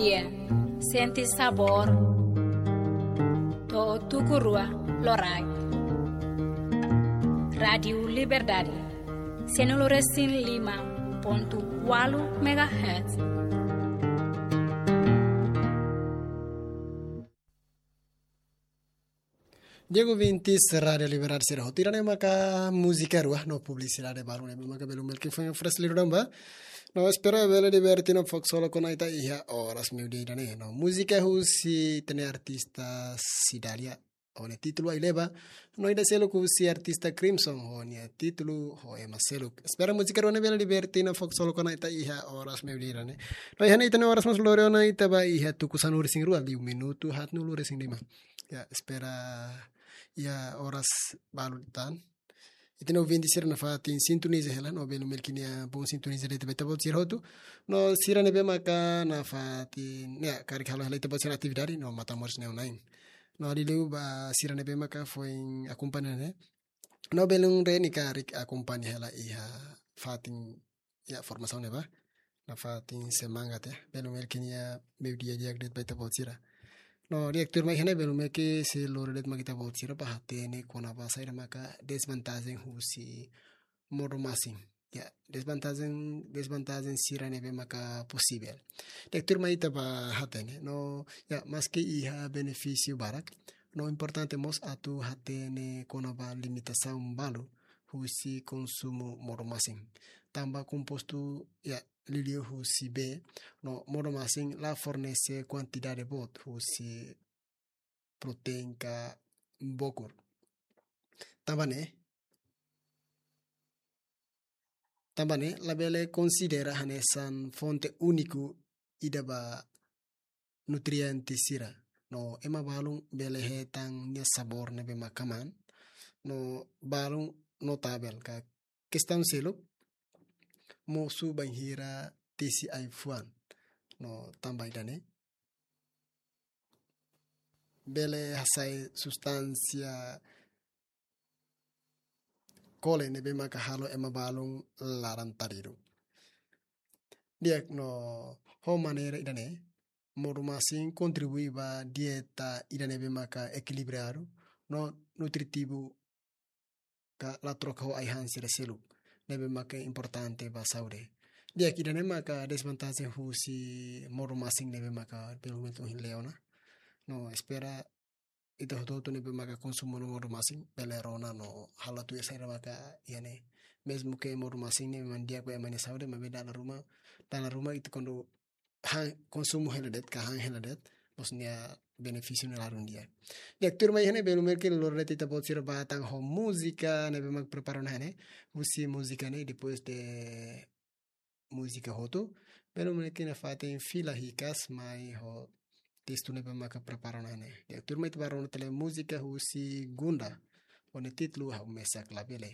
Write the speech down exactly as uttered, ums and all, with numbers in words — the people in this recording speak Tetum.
Sente sabór. To'o tuku rua loraik. Rádiu Liberdade, cento e cinco e cinco ponto oito megahertz. Di'ak ouvintes Rádiu Liberdade sira hotu, ida-ne'e maka múzika rua no publisidade balu ne'ebé maka belun Melki foin oferese liu ba. No espera bele diverte no fok solo kona ita iha oras meiudia ida-ne'e. No múzika husi ita-nia artista Cidália, ho nia títulu Ai Leba. No ida seluk husi artista Crimson, ho nia títulu Ho Ema Seluk. Espera múzika rua ne'e bele diverte no fok solo kona ita iha oras meiudia ida-ne'e. No iha ne'e ita-nia oras mós lori ona ita ba iha tuku sanulu-resin-rua, liu minutu haatnulu-resin-lima. Ya, espera iha oras balu tan. Ita-nia ouvinte sira nafatin sintoniza hela, no belun Melki nia bom sintoniza de'it ba ita-boot sira hotu. No sira ne'ebé maka nafatin, ya, karik halo hela ita-boot sira atividade, no matan moris neon lain. No liuliu ba sira ne'ebé maka foin akompaña ne'e. No belun Reni karik akompaña hela iha fatin, ya, formasaun ne'ebá. Nafatin semangat, ya. Belun Melki nia meiudia di'ak de'it ba ita-boot sira. No di'ak tuirmai iha ne'e belun Melki sei lori de'it mai ita-boot sira ba hatene kona-ba saida maka desvantajen husi modo masin. Ya, desvantajen, desvantajen sira ne'ebé maka posivel. Di'ak tuirmai ita ba hatene. No, ya, maski iha benefísiu barak, no importante mós atu hatene kona-ba limitasaun balu husi konsumu modo masin. Tanba kompostu, ya, liuliu husi bee, no modo masin la fornese kuantidade boot husi proteína ka bokur. Tanba ne'e, tanba ne'e labele konsidera hanesan fonte úniku ida ba nutriente sira. No ema balun bele hetan nia sabór ne'ebé maka maan. No balun notavel ka kestaun seluk mosu bainhira tesi ai-fuan. No tanba ida-ne'e bele hasai substánsia kole ne'ebé maka halo ema balun laran-taridu. Di'ak, no ho maneira ida-ne'e, modo masin kontribui ba dieta ida ne'ebé maka ekilibradu no nutritivu ka la troka ho ai-han sira seluk ne'ebé maka importante ba saúde. Di'ak, ida-ne'e maka desvantajen husi modo masin ne'ebé maka belun Melki ohin lee ona. No espera ita hotu-hotu ne'ebé maka konsumu no modo masin bele rona no halo tuir saida maka iha ne'e. Mezmu ke modo masin ne'e memang di'ak ba ema nia saúde, maibé dala ruma, dala ruma ita kuandu han, konsumu hela de'it, ka han hela de'it, mós nia benefísiu ne'e ladún di'ak. Di'ak, tuirmai iha ne'e belun Melki lori de'it ita-boot sira ba tan ho múzika ne'ebé mak prepara ona iha ne'e. Husi múzika ne'e, depois de múzika hotu, belun Melki nafatin fila hikas mai ho testu ne'ebé maka prepara ona iha ne'e. Di'ak, tuirmai ita ba rona tiha múzika husi Gunda, ho nia títulu Ha'u Mesak Labele.